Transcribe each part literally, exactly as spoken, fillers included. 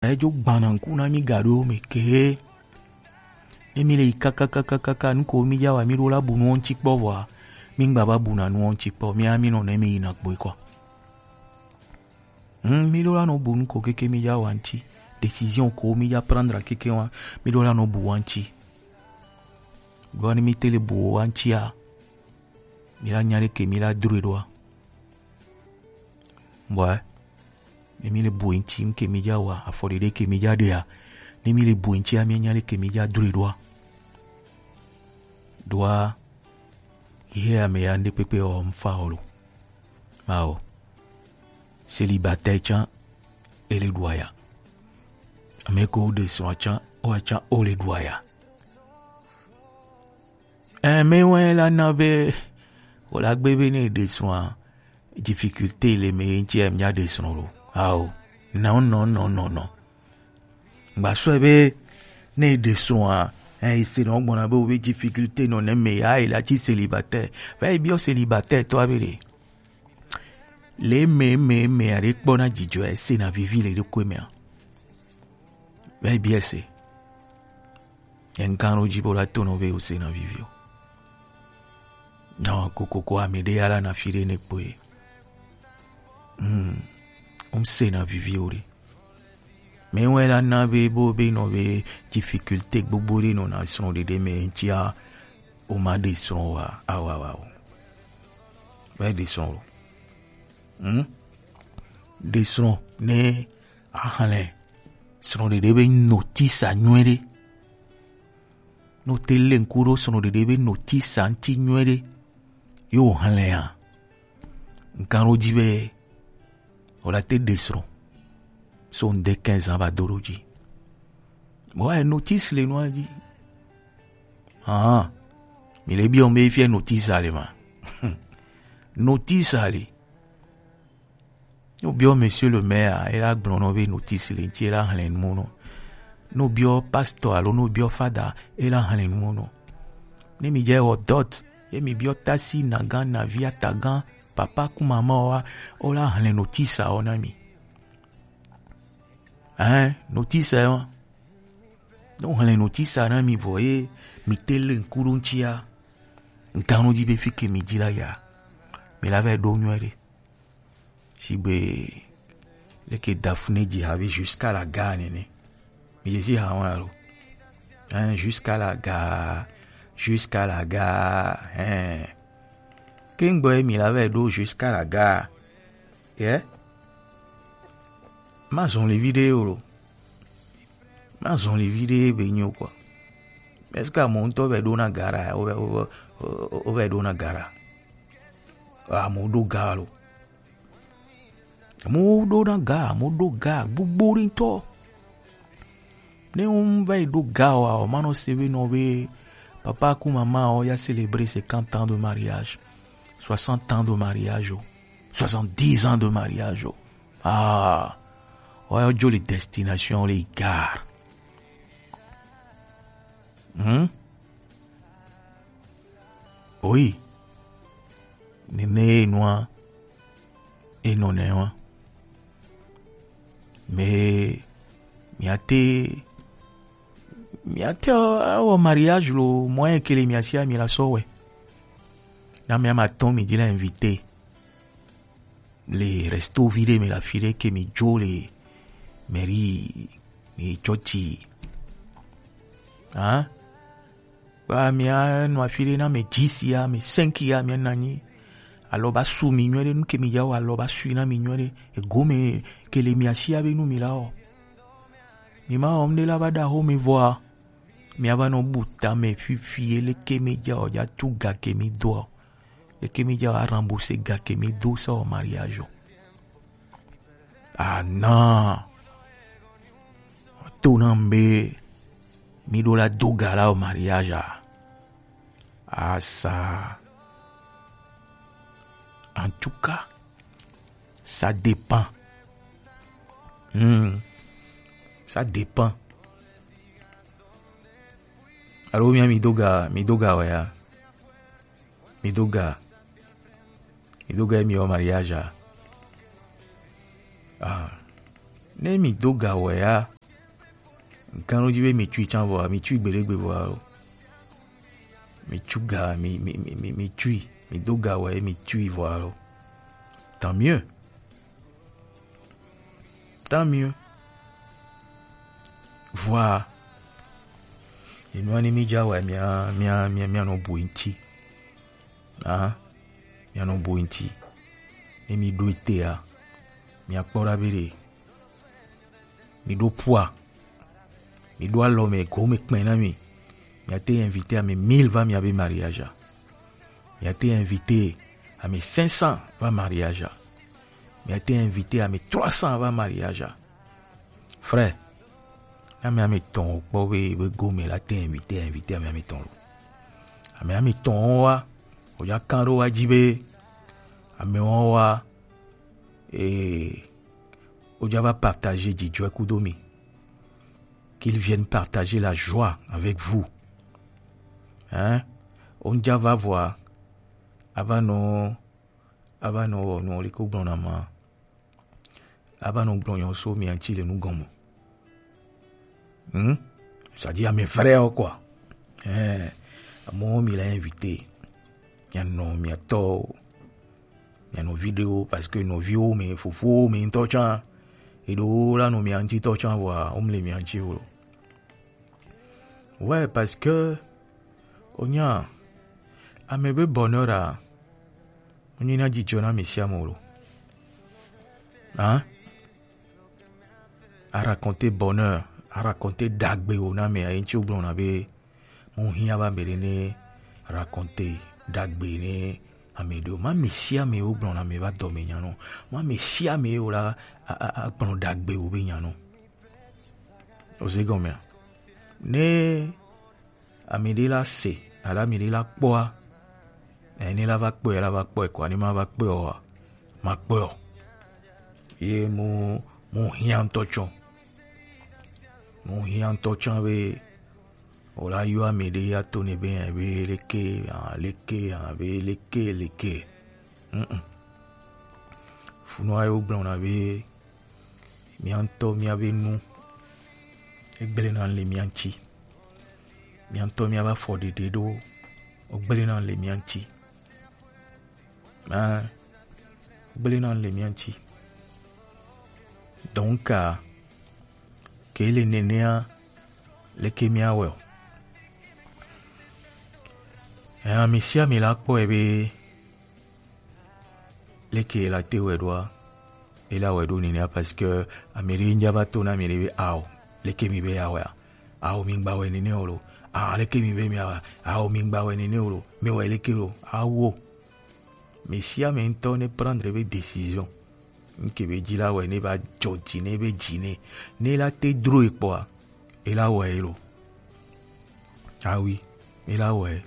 Edzo gbana ŋku na mi gaɖo me ke. Ne mi le yi kakakakaka, nuko mi dza wa, mi ɖo la bu nuwo ŋuti kpɔ vɔa, mi ŋgba va buna nuwo ŋuti kpɔ. Mi a mi nɔ ne mi yina kpoe kɔ. Hmm, mi ɖo la nɔ bu nuko keke mi dza wa ŋuti. Décision ko mi dza prendre keke wa, mi ɖo la nɔ bu wa ŋuti. Ɖo ne mi te le bu wa ŋutia, mi la nya ɖe ke mi la dro ɖoa. Bɔa, ne mi le bu ŋuti, ŋke mi dza wa, afɔ ɖeɖe ke mi dza ɖea, ne mi le bu ŋutia, mi nya ɖe ke mi dza dro ɖoa. Ɖoa, ihe ame ya ŋɖe kpekpe ɔ, ŋfa ɔ lo. Mawo. Célibataire tsã, ele ɖu aya. Ame ko ɖe srɔ̃ tsã, o tsã, o le ɖu aya. Ɛ, mɛ wɛ la na be, wòle agbe be ne ɖe srɔ̃a, difficulté le me ŋuti, ɛ, mia ɖe srɔ̃ lo. Ao. Non, non, non, non, non. Ŋgba sɔe be ne ɖe srɔ̃a, ɛ, ese nɔ gbɔna be wo be difficulté nɔ ne me ya, e la tsi célibataire. Va yi biɔ célibataire tɔ abe ɖe. Le me, me, me aɖe kpɔna dzidzɔ, ese na vivi le ɖokui mea. Va yi biɔ ese. Eŋkan ɖo dzi be wòla to nɔ be wòsena vivi o. Nɔ kokoko ame ɖe ya la na fi ɖe ne kpoe. Hmm. Wòsena vivi o ɖe. Mɛ wɛ la na be bo be nɔ be difficulté gbogbo ɖe nɔ na srɔ̃ ɖeɖe me ŋutia, o ma ɖe srɔ̃ wa, awa wa o. Wɛ ɖe srɔ̃ o. Hmm? Ɖe srɔ̃ ne axlẽ srɔ̃ɖeɖe be notice a nyuiɖe. Ne wote lé ŋku ɖo srɔ̃ɖeɖe be notice a ŋuti nyuiɖe, ye wòxlẽa, ŋkan ɖo dzi be wòla te ɖe srɔ̃ so ŋde quinze ans va do ɖo dzi. Bon, ouais, notice le nua dzi. Ah, mi le biɔ be fia notice a le ma. Notice a le. Ne wobiɔ monsieur le maire a, ela gblɔ nɔ be notice le ŋuti, ela xlẽ nu mo nɔ. Ne wobiɔ pasteur alo ne wobiɔ fada, ela xlẽ nu mo nɔ. Ne mi dze wɔ dot, ye mi biɔ tasi, nagan, navi, atagan, papa ku mama wa, wola xlẽ notice a wo na mi. Hein, notice a wa. Ne woxlẽ notice a na mi vɔ ye mi te le ŋku ɖo ŋutia, ŋkan ɖo dzi be fi ke mi dzi la ya, mi la va ɖo nyuie ɖe. Sigbe leke Daphné dzi ha be jusqu'à la gare nene. Mi dze si ha wa lo. Hein, jusqu'à la gare, jusqu'à la gare, hein. Ke ŋgbɔ ye mi la va ɖo jusqu'à la gare. Ye? Ma zɔn le vi ɖe o lo. Ma zɔn le vi ɖe be nyo quoi. Est-ce que amewo ŋutɔ va ɖo na gara? Wo va, wo va, wo va ɖo na gara. Amewo ɖo ga lo. Amewo ɖo na ga, amewo ɖo ga gbogbo ɖe ŋutɔ. Ne wo va yi ɖo ga wa, o ma nɔ se be nɔ be papa ku mama o ya célébrer cinquante ans de mariage, soixante ans de mariage o, soixante-dix ans de mariage o. Ah, o ya dzo le destination le gare. Hmm? Oui. Nene nua e nɔ nɛ wa. Mais miate, miate awɔ mariage lo, moyen ke le mia sia mi la sɔ wɛ. Na mia ma tɔn mi di la invité. Le resto vi ɖe me la fi ɖe ke mi dzo le mairie, mi tsɔtsi. Hein? Ba mia nɔ afi ɖe na me dix ya, me cinq ya, mia nanyi. Alɔ ba su mi nyuie ɖe, nu ke mi ya wɔ alɔ ba su na mi nyuie ɖe. Ego me ke le mia sia be nu mi la wɔ. Mi ma wɔm ɖe la va ɖa ho me vɔa. Mia va nɔ bu ta me fifi ye leke mi ja o ja tu ga ke mi do o. Leke mi ja o a rembourser ga ke mi do sa o mariage o. Ah non. To na mbe mi ɖo la do ga la o mariage a. Ah ça. En tout cas, ça dépend. Hmm. Ça dépend. Alo mia mi do ga, mi do ga wɛ ya. Mi do ga. Mi do ga mi o mariage a. Ah. Ne mi do ga wɛ ya, gan ɖo ji be mi tui can vɔa, mi tui gbeɖegbe vɔa lo. Mi tu ga, mi, mi, mi, mi, mi tui, mi do ga wɛ, mi tui vɔa lo. Tant mieux. Tant mieux. Vɔa. Enua ne mi ja wɛ, mia, mia, mia, mia nɔ bu ŋti. Ah, mia nɔ bu ŋti. Ne mi ɖo ete ya, mia kpɔ ɖa be ɖe. Mi ɖo pua. Mi ɖo alɔ me, go me kpɛ na mi. Mia te invité ame mille va mia be mariage a. Mia te invité ame cinq cents va mariage a. Mia te invité ame trois cents va mariage a. Frère, ame ame tɔn kpɔ be, be go me la te invité, invité ame ame tɔn lo. Ame ame tɔn wa, o ja kan ɖo wa ji be, ame wa wa, eh, o ja va partager jijɔɛ kudo mi. Qu'ils viennent partager la joie avec vous. Hein? O ja va vɔa, a va nɔ, a va nɔ wɔ nɔ li ko gblɔ na ma. A va nɔ gblɔ nyɔ so mia ŋti le nu gɔme. Hmm? C'est-à-dire, ame vrai o quoi. Eh, amewo mi la invité. Mia nɔ, mia tɔ, mia nɔ vidéo, parce que nɔviwo mi, fofowo mi ŋutɔ tsã. Eɖewo la nɔ mia ŋti tɔ tsã, vɔa, wo mle mia ŋti o. Ouais, parce que, onya, ame be bonheur a, o nyi na jijɔ na mi sia mo lo. Hein? A raconter bonheur, a raconter dagbe o na me, ayi ŋti o gblɔ na be, mo hiã ba me ɖe ne raconter dagbe ne ame ɖe o. Ma me sia me o gblɔ na me va dɔ me nya no. Ma me sia me o la, a, a, a gblɔ dagbe o be nya no. O ze gɔmea? Ne ame ɖe la se, alo ame ɖe la kpɔa, eh, ne la va kpɔe, la va kpɔe kɔa, ne ma va kpɔe oa, ma kpɔe o. Ye mo, mo hiã ŋutɔ tsã. Mo hiã ŋutɔ tsã be, o la yɔ ame ɖe ya to ne be, eh, be leke, ah, leke, ah, be leke, leke. Mm-mm. Funua ye wo gblɔ na be, mia ŋutɔ mia be nu, egblẽ na le mia ŋti. Mia ŋutɔ mia va fɔ ɖeɖe ɖo, egblẽ na le mia ŋti. Ah, egblẽ na le mia ŋti. Donc, ah, ke le nenea, leke mia wɛ o? Eh, ame sia ame la kpɔe be, leke la te wɛ ɖoa, e la wɛ ɖo nenea, parce que ame ɖe ŋdza va to na ame ɖe be, ao, leke mi be ya wɛa? Ao, mi ŋgba wɛ nene o lo. Ah, leke mi be mi ya wɛa? Ao, mi ŋgba wɛ nene o lo. Mi wɛ leke lo? Awo. Ame sia ame ŋutɔ ne prendre be décision. Ŋke be ji la wɛ ne va dzɔ dzi ne be dzi ne. Ne la te dro e kpɔa, e la wɛ e lo. Ah oui, e la wɛ.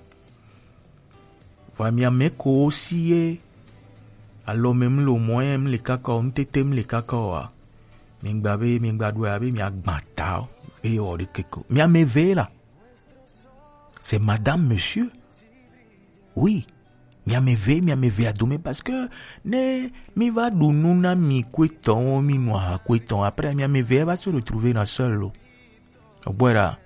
Vɔa mia mɛ ko si ye alɔ mɛ mlo mɔ ye mle kaka o, ŋtete mle kaka o a. Mi ŋgba be, mi ŋgba ɖo ya be mia gba ta o. Eye wɔ ɖe keke o. Mia mɛ ve la. C'est madame, monsieur. Oui. Mia mɛ ve, mia mɛ ve a dome parce que ne mi va ɖu nu na mi kuetɔn, mi nu aha kuetɔn. Après, mia mɛ ve va se retrouver na seul lo. Ogbɔe ɖa,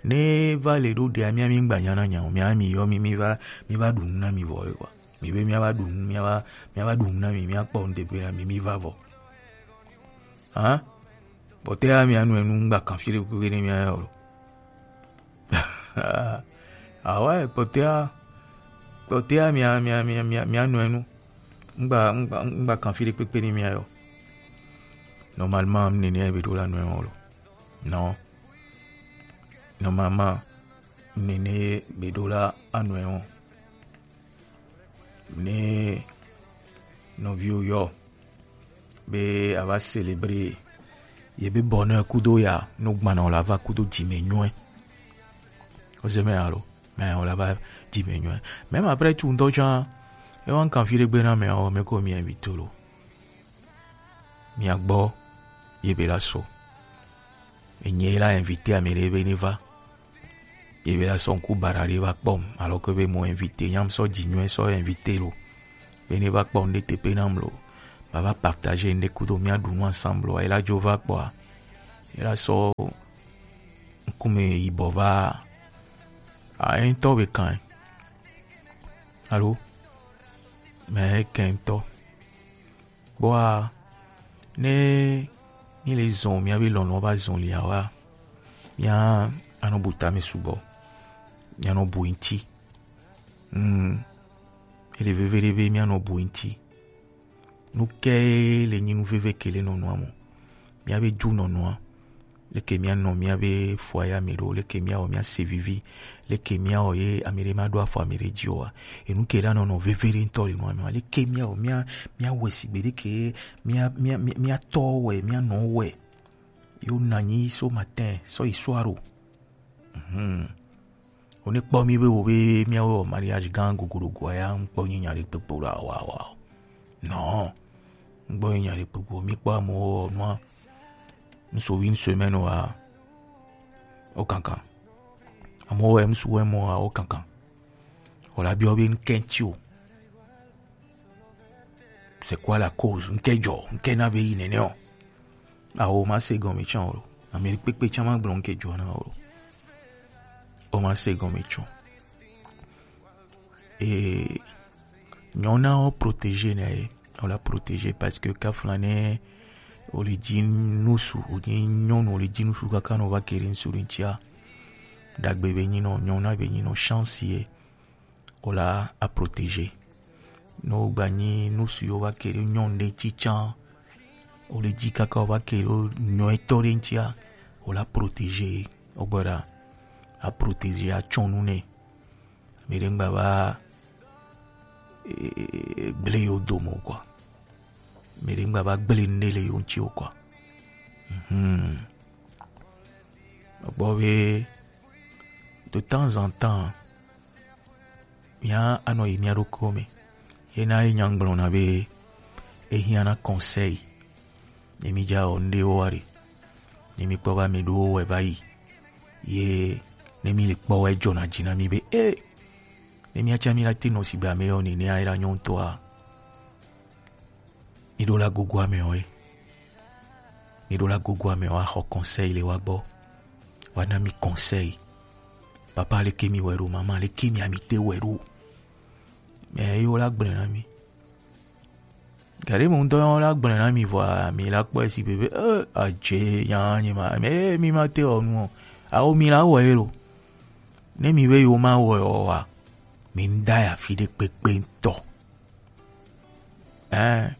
ne va le ɖo ɖea, mia mi ŋgba nya na nya o, mia mi yɔ mi, mi va, mi va ɖu nu na mi vɔ ye kɔa. Mi be mia va ɖu nu, mia va, mia va ɖu nu na mi, mia kpɔ nu teƒe na mi, mi va vɔ. Hã? Kpɔtɔa mia nu enu ŋgba kan fi ɖe kpekpe ne mia yɔ lo. Ah ouais, kpɔtɔa, kpɔtɔa mia, mia, mia, mia, mia nu enu. Ŋgba, ŋgba, ŋgba kan fi ɖe kpekpe ne mia yɔ. Normalement, mi nene be ɖo la nu enu lo. Non. Normalement, mi nene be ɖo la anu enu. Ne nɔviwo yɔ be a va célébrer ye be bonheur kudo ya, no gbana o la va kudo dzi me nyuɛ. O se me alo, mais o la va dzi me nyuɛ. Même après tout ŋutɔ tsã, e wa kan fi ɖe gbe na me o, me ko mi invité lo. Mia gbɔ ye be la so. Enye la invité ame ɖe be ne va. Ye be la sɔ ŋku bara ɖe va kpɔm. Alors que be mo invité, nyam sɔ dzi nyuie sɔ invité lo. Be ne va kpɔm ɖe teƒe nam lo. va va partager ŋɖe kudo mia ɖu nu ensemble wa, ela dzo va kpɔa, ela sɔ ŋkume yibɔ va. A, eŋtɔ be kan. Alo? Mais eke ŋtɔ. Kpɔa, ne mi le zɔn miabe lɔlɔ va zɔn lia wa, mia anɔ bu tame sugbɔ. Mia nɔ bu ŋti. Hmm. Ele veve ɖe be mia nɔ bu ŋti. Nu ke le nyi nu veve ke le nɔnɔa mo. Miabe ju nɔnɔa. Leke mia nɔ miabe foyer me ɖo, leke mia wɔ mia se vivi, leke mia wɔ ye ame ɖe ma ɖo afɔ ame ɖe dzi oa. Enu ke la nɔnɔ veve ɖe ŋtɔ le nɔa me wa. Leke mia wɔ mia, mia wɛ sigbe ɖe ke mia, mia, mia, mia tɔ wɛ, mia nɔ wɛ. Yo na nyi so matin, so yi soir o. Mhm. Wo ne kpɔ mi be wo be miawo wɔ mariage gã gogoɖogoa ya, ŋkpɔ nyi nya ɖe kpekpe ɖo awa wa o. Non. Ŋkpɔ nyi nya ɖe kpekpe o. Mi kpɔ amewo wɔ nua. Ŋsu wi ŋsu mɛ nɔ wa. O kankan. Amewo wɔ ŋsu wɛ mɔ wa o kankan. O la biɔ be ŋkɛ ŋti o. C'est quoi la cause? Ŋkɛ dzɔ, ŋkɛ na be yi nene o. Awo ma se gɔme tsã o. Ame kpekpe tsã ma gblɔ ŋkɛ dzɔ na o. O ma se gɔme tsã. E nyɔna o protéger na ye. O la protéger parce que kafla ne o le dzi nusu, o dzi nyɔnu o le dzi nusu kaka no va ke ɖe ŋsu ɖe ŋtia. Dagbe be nyi nɔ, nyɔna be nyi nɔ, chance ye. O la a protéger. Ne o gba nyi nusu yo va ke ɖe nyɔnu ɖe ŋti tsã, o le dzi kaka o va ke ɖe nyɔ etɔ ɖe ŋtia, o la protéger. O gbɔ ɖa, a protéger, a tsɔ nu nɛ. Mi ɖe ŋgba va, e, gblẽ yo dome o quoi. Mi ɖe ŋgba va gblẽ nu ɖe le yo ŋti o quoi. Mhm. Gbɔ be, de temps en temps, mia anɔ yi mia ɖokuiwo me. Ye na ye nya gblɔna be, ehiã na conseil. Ne mi dza wɔ ŋɖe wo wa ɖe. Ne mi kpɔ va mi ɖo wɛ va yi. Ye ne mi le kpɔ wɛ dzɔna dzi na mi be, e, ne mi atsa mi la te nɔ sigbe ame yɔ nene a, ela nyɔ ŋutɔa. Mi ɖo la gogo ame wɛ. Mi ɖo la gogo ame wɛ, axɔ conseil le wa gbɔ. Wa na mi conseil. Papa, leke mi wɛ ɖo, maman, leke mi ami te wɛ ɖo. Mais yo la gblẽ na mi. Gari mo ŋutɔ la gblẽ na mi vɔa, mi la kpɔe si be, be, eh, adze nya nyi ma, mais mi ma te wɔ nu o. Awo mi la wɔ ye lo. Ne mi be yo ma wɔ ye o wa, mi ŋda ya fi ɖe kpekpe ŋutɔ. Hein?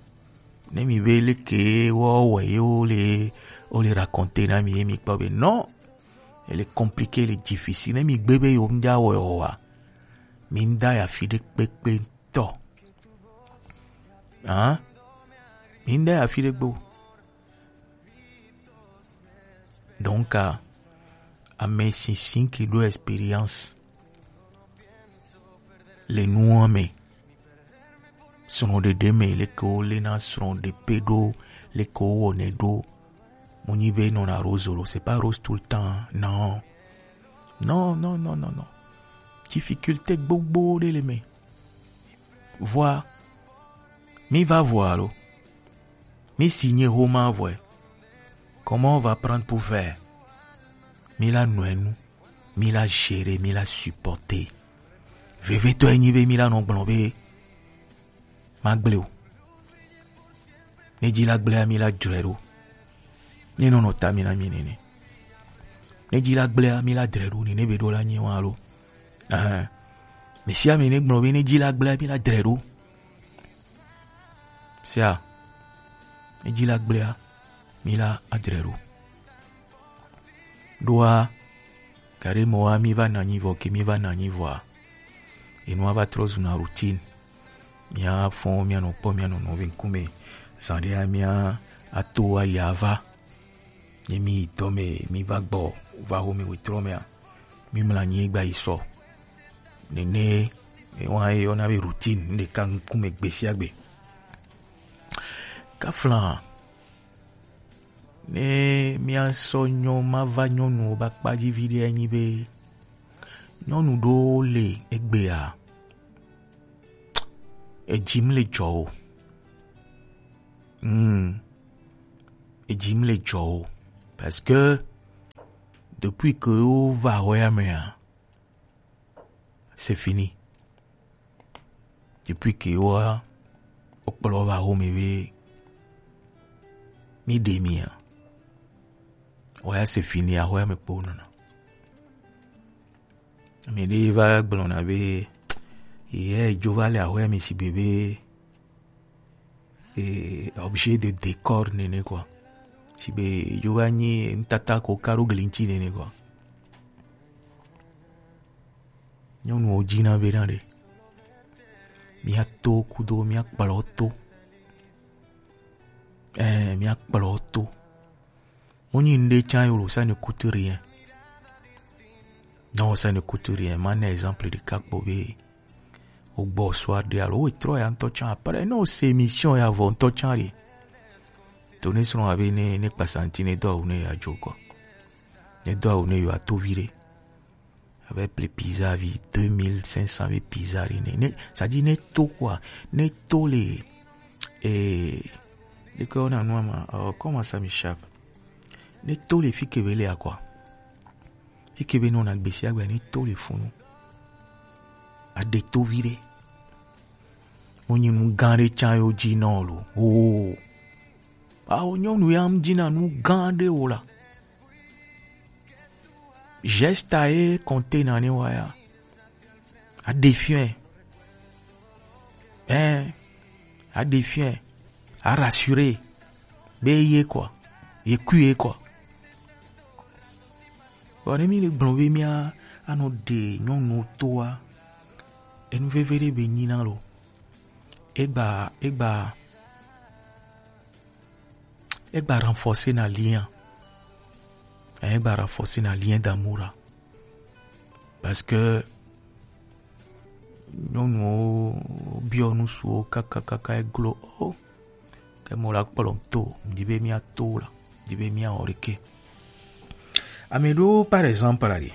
Ne mi be leke wɔ wɔ ye wo le, wo le raconter na mi ye mi kpɔ be non. Elle est compliquée, elle est difficile. Ne mi gbe be yo ŋda wɔ ye o wa, mi ŋda ya fi ɖe kpekpe ŋutɔ. Hein? Mi ŋda ya fi ɖe gbo. Donc, ah, ame sinsin ke ɖo expérience le nua me. Srɔ̃ɖeɖe me, leke wo le na srɔ̃ɖeƒe ɖo, leke wo wɔnɛ ɖo. Mo nyi be nɔna rose lo, c'est pas rose tout le temps, non. Non, non, non, non, non. Difficulté gbogbo ɖe le me. Vɔa, mi va vɔa lo. Mi signé homa vɔe. Comment on va prendre pour faire? Mi la nɔe nu, mi la gérer, mi la supporter. Vevetɔ enyi be mi la nɔ gblɔ be, ma gblẽ o. Ne dzi la gblẽa, mi la dzɔe ɖo. Ne nɔnɔ ta mi na mi nene. Ne dzi la gblẽa, mi la dre ɖo nene be ɖo la nyi wa lo. Ahan. Mi sia mi ne gblɔ be ne dzi la gblẽa, mi la dre ɖo. Sia. Ne dzi la gblẽa, mi la adre ɖo. Ɖoa, gaɖe mɔ wa mi va na anyi vɔ, ke mi va na anyi vɔa, enua va trɔ zuna routine. Mia fɔn, mia nɔ kpɔ mia nɔ nɔvi ŋkume. Zan ɖea mia ato ayi ava. Ne mi yi dɔ me, mi va gbɔ, va ho mi wetrɔ mea, mi mla anyi gba yi sɔ. Nene, ewa ye yɔna be routine, nu ɖeka ŋkume gbe sia gbe. Kafla, ne mia sɔ nyɔ ma va nyɔnuwo ba kpa dzi vi ɖe anyi be nyɔnu ɖo le egbea, edzi mi le dzɔ o. Hmm. Eji mi le jɔ o. Parce que depuis que wo va hwɛ ya mea, c'est fini. Depuis que wo, wo kplɔ va home be mi ɖe mi a, hwɛ ya c'est fini, ahwɛ me kpo nɔna. Mi ɖe va gblɔna be ye dzo va le ahwɛ me si be be eh, objet de décor nene quoi. Si be dzo va nyi nutata ko karo glinti nene quoi. Nyɔnuwo dzina be na ɖe. Mia to kudo, mia kplɔ to. Eh, mia kplɔ to. Mo nyi nde tsan yo lo, ça ne coûte rien. Non, ça ne coûte rien. Ma na exemple de kakpo be o gbɔ soir de alo o trɔ ya ŋutɔ tsan. Après, non, c'est émission ya vɔ ŋutɔ tsan de. To ne srɔ̃ abe ne, ne kpasanti ne do awu ne ya dzo kɔ. Ne do awu ne yo ato vi ɖe. Avec les pizza vi deux mille cinq cents vi pizza ri ne. Ne, ça dit ne to quoi. Ne to le, eh, de quoi on a noir ma, oh, comment ça m'échappe. Ne to le fi ke be le a quoi. Fi ke be non a gbesi agbe ne to le funu. A de to vi ɖe. Mo nyi nu gã ɖe tsan yo dzi nɔ lo. Oh. Awo nyɔnu ya ŋ dzina nu gã ɖe wo la. Geste a ye compter na ne wa ya. A défier. Hein, a défier. A rassurer. Be ye quoi. Ye kui ye quoi. Bon, ne mi le gblɔ be mia anɔ ɖe nyɔnu toa. Enu veve ɖe be nyi na lo. Egba, egba, egba renforcer na lien. Egba renforcer na lien d'amour la. Parce que nyɔnuwo biɔ nusuwo kakakaka eglo o. Ke mo la kplɔ to, di be mia to la, di be mia ɔrike. Ame ɖewo, par exemple, la ɖi.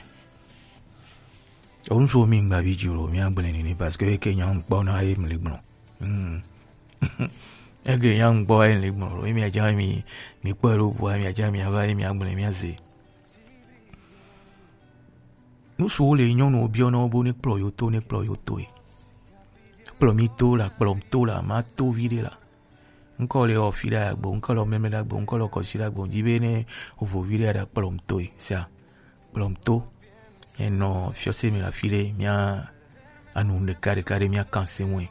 Onu so mi ŋgba vi dzi lo, mia gblẽ nini, parce que eke nya ŋkpɔ na ye mli gblɔ. Hmm. Eke nya ŋkpɔ ye mli gblɔ lo, mi adza mi, mi kpɔ lo bua, mi adza mi ava ye mia gblẽ mia ze. Nu so le nyɔnu biɔ na wo bo ne kplɔ yo to, ne kplɔ yo to ye. Kplɔ mi to la, kplɔ to la, ma to vi ɖe la. Ŋkɔ le ɔ fi ɖe agbo, ŋkɔ le ɔ mɛmɛ ɖe agbo, ŋkɔ le ɔ kɔsi ɖe agbo, di be ne vo vi ɖe ɖa kplɔ to ye, sia. Kplɔ to. Enɔ fiɔse mi la fi ɖe, mia anu ɖeka ɖeka ɖe mia kan se ŋue.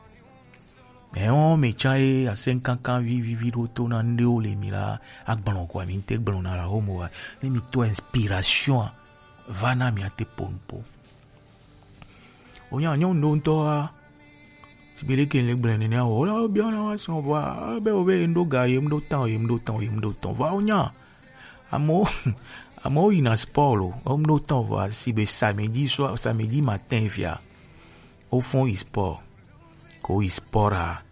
Mɛ wɔn mɛ tsa ye asɛn kankan vivivi ɖo to na ŋɖewo le mi la agblɔ kɔ mi ŋte gblɔ na la homo wa. Ne mi to inspiration a, va na mi ate po nupo. Wonya nyɔnu ɖo ŋutɔ wa. Sigbe ɖe ke le gblẽ nene o. Wola wo biɔ na wa srɔ̃ vɔa, be wo be ye ŋɖo ga, ye ŋɖo tɔn, ye ŋɖo tɔn, ye ŋɖo tɔn. Vɔa wonya. Amewo, amewo yina sport lo. Wo ŋɖo tɔn vɔa, sigbe samedi soir, samedi matin via. Wo fɔn yi sport. Ko yi sport a.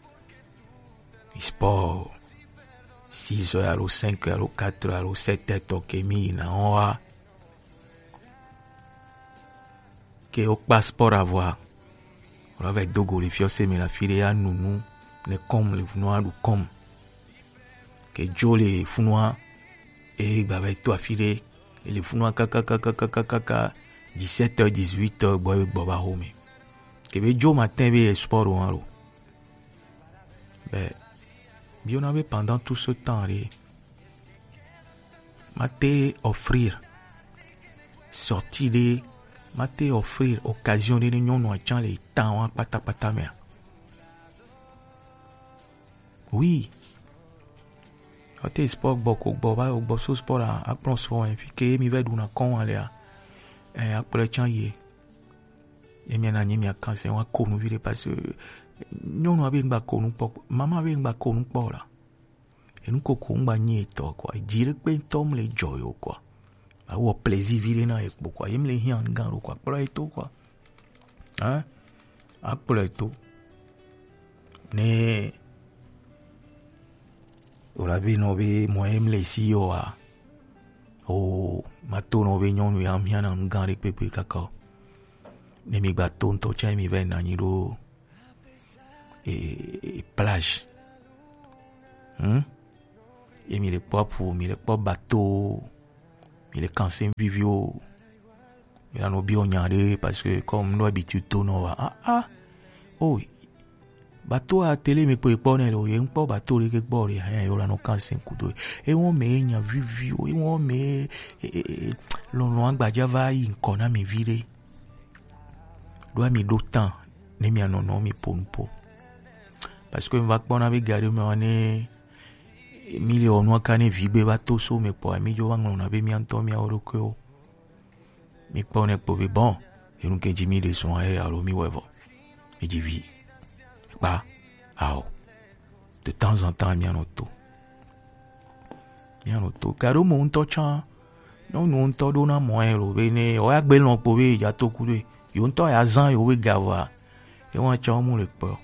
Yi sport. Six heures alo cinq heures alo quatre heures alo sept heures tɔ ke mi yina wa. Ke wo kpa sport avɔa, wo la va do go le fiɔse me la fi ɖe ya nu nu ne kɔm le funua ɖu kɔm. Ke dzo le funua, e gba va to afi ɖe, e le funua kakakakakaka, dix-sept heures, dix-huit heures gbɔ, e gbɔ va home. Ke be dzo matin be ye sport wa lo. Be, biona be pendant tout ce temps ɖe, ma te offrir sortie ɖe, ma te offrir occasion ɖe ne nyɔnua tsã le temps wa kpatakpata mea? Oui. Wa te sport gbɔ ko gbɔ, va gbɔ so sport a, akplɔ so, hein, fi ke mi va ɖuna kɔn wa lea, eh, akplɔ tsã ye. Ye mia na nyi mia kan se wa ko nu vi ɖe parce que nyɔnua be ŋgba ko nu kpɔ, mama be ŋgba ko nu kpɔ la. Enu koko ŋgba nyi etɔ quoi. Dzi ɖe kpe ŋutɔ mle dzɔ yo quoi. Awɔ plaisir vi ɖe na ye kpo quoi. Ye mle hiã gã ɖo quoi. Kplɔ ye to quoi. Hein? Akplɔ ye to. Ne wòla be nɔ be mɔ ye mle si yo a. O, ma to nɔ be nyɔnu ya hiã na nu gã ɖe kpekpe kaka o. Ne mi gba to ŋutɔ tsã mi va na nyi ɖo e, e, plage. Hmm? Ye mi le kpɔ apu, mi le kpɔ bateau, mi le kanse vivi o. Mi la no bi o nya ɖe, parce que comme no habitude to no wa. Ah, ah. Oh, bateau a télé mi kpɔ kpɔ ne lo, ye kpɔ bateau ɖe ke kpɔ ɖe, hein, yo la no kanse kudo. E won me nya vivi o, e won me, e, e, e, lɔlɔ agbaja va yi nkɔ na mi vi ɖe. Ɖo mi ɖo tan, ne mi anɔ nɔ mi po nu po. Parce que mi va kpɔ na be gari me wa ne mi le wɔ nua ka ne vi gbe va to so me kpɔ, mi jo va ŋlɔ na be mi ŋutɔ mi awo ɖokui o. Mi kpɔ ne kpɔ be bon, enu ke ji mi ɖe sɔn ye alo mi wɛ vɔ. Mi ji vi. Kpa, ao. De temps en temps, mi anɔ to. Mi anɔ to. Garo mo ŋutɔ tsã. Nyɔnu ŋutɔ ɖo na mɔ ye lo be ne, o ya gbe lɔn kpo be ja to ku ɖe. Yo ŋutɔ ya zan yo be ga va. Ye wa tsã mu le kpɔ.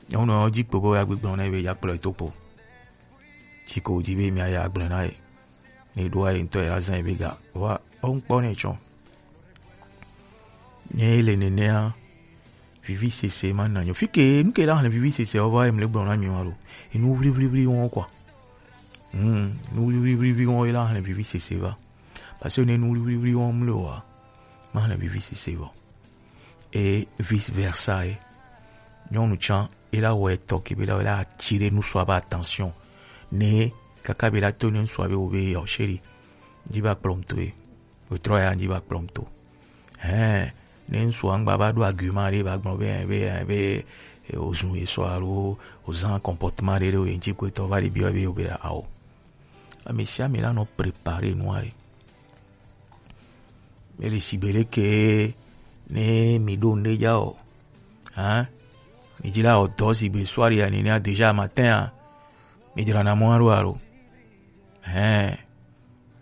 Nyɔnu ɔ dzi kpo be ya gbe gblɔ na ye be ya kplɔ to kpo. Tsi ko dzi be mi ya gblɔ na ye. Ne ɖo ye ŋutɔ ya zan ye be ga. Wa, o ŋkpɔ ne tsɔ. Nye le nenea, vivi sese ma na nyo. Fi ke, nu ke la hɛn vivi sese o va, em le gblɔ na mi wa lo. Enu vli vli vli wɔn kwa. Hmm, nu vli vli vli vli wɔn la hɛn vivi sese va. Parce que ne nu vli vli vli wɔn le wa, ma hɛn vivi sese va. Et vice versa, e. Nyɔnu tsã, e la wɔ etɔ ke be la, la attirer nusua ba attention. Ne, kaka be la to ne nusua be o be, oh chérie. Dzi ba kplɔm to e. Wetrɔ ya dzi va kplɔm to. Hɛn, ne ŋsu angba va ɖo argument ɖe va gblɔ be, be, be, eh, ozu esɔ alo ozan comportement ɖe ɖe o ŋtsi ko etɔ va ɖe biɔ be o be ɖa ao. Ame sia ame la nɔ préparer nua ye. Ele sigbe ɖe ke ne mi ɖo ŋɖe dza o. Hein? Mi dzi la o dɔ sigbe soir ya nene déjà matin a. Mi dzra na mɔ alo alo. Hein?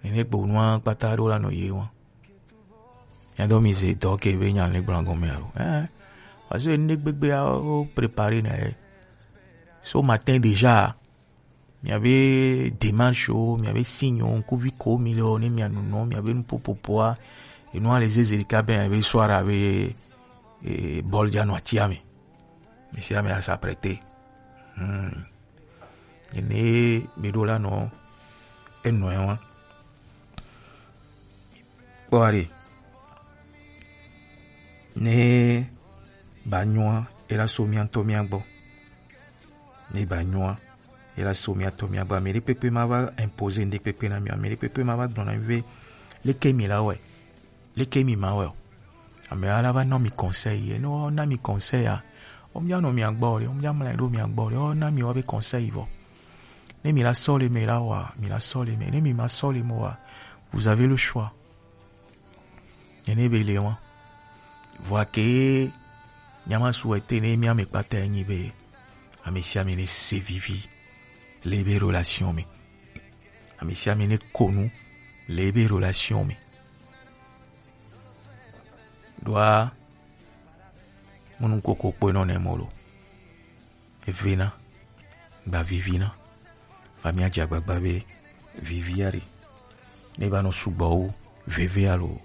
Nene gbo nua kpata ɖo la nɔ ye wa. Nya do mi ze dɔ ke be nya le gbla gɔme alo. Eh. Parce que ne gbegbe a o préparer na ye. So matin déjà. Mi avait démarche o, mi avait signe o, kuvi ko mi le o, ne mi anunɔ, mi avait nu popopoa. Et nous les zézé ka ben avait soir avait, eh, bol dia no tia mi. Mi si ame a s'apprêter. Hmm. Ene mi ɖo la nɔ enɔ wa. Kpɔ ɖe. Ne ba nyɔa, e la so mia ŋutɔ mia gbɔ. Ne ba nyɔa, e la so mia ŋutɔ mia gbɔ. Ame ɖe kpekpe ma va imposer ŋɖe kpekpe na mi. Ame ɖe kpekpe ma va gblɔ na mi be leke mi la wɔe. Leke mi ma wɛ o. Ame ala va na mi conseil. Ye ne wo na mi conseil a, wo mia nɔ mia gbɔ o ɖe, wo mia mla ɖo mia gbɔ o ɖe, wo na mi wo be conseil vɔ. Ne mi la sɔ le me la wa, mi la sɔ le me. Ne mi ma sɔ le me wa, vous avez le choix. Ene be le wa. Vɔ ke nyama souhaiter ne mi ame kpata enyi be ame sia ame ne se vivi le be relation me. Ame sia ame ne ko nu le ebe relation me. Ɖoa munu koko kpɔe nɔ ne mɔ lo. Evena, gba vivina. Famia dze agbagba be vivia ɖe. Ne ba nɔ sugbɔ wu veve alo.